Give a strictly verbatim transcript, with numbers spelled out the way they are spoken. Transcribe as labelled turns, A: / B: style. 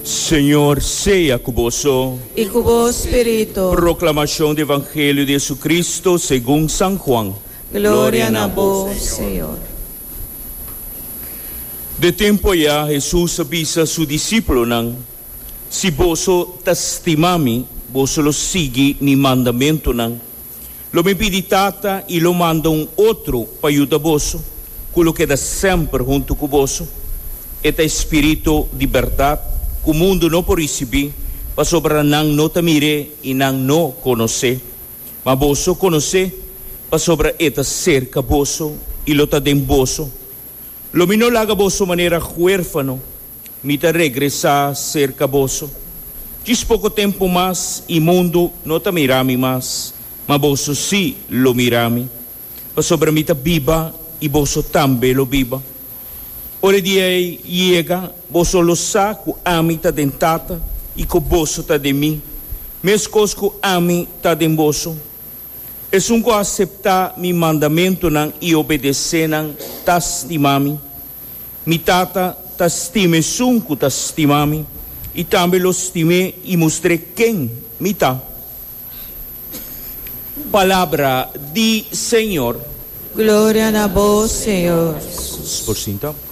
A: Señor sea ku boso.
B: I ku bo spiritu.
A: Proklamashon di Evangelio di Jesucristo segun San Juan.
B: Gloria na bo, Señor.
A: Den e tempu ei Hesus a bisa su disipelnan: "Si boso ta stima mi, boso lo sigui mi mandamentunan. Lo mi pidi Tata i lo manda un otro pa yuda boso, ku lo keda semper huntu ku boso. E ta Spiritu di bèrdat, ku mundu no por risibí, pasobra nan no ta mir'é i nan no konos'é. Ma boso konos'é, pasobra e ta serka boso i lo ta den boso. Lo mi no laga boso manera huérfano, mi ta regresá serka boso. Djis poko tempu mas i mundu no ta mira mi mas, ma boso sí lo mira mi. Pasobra mi ta biba i boso tambe lo biba. Ora e dia yega, boso lo sa ku ami ta den Tata i ku boso ta den mi. Meskos ku ami ta den boso. Esun ku aseptá mi mandamentunan i obedesé nan ta stima mi. Mi Tata ta stima esun ku ta stima mi i tambe lo stim'é i mustr'é ken mi ta." Palabra di Señor.
B: Gloria na bo, Señor.
A: Por sinta.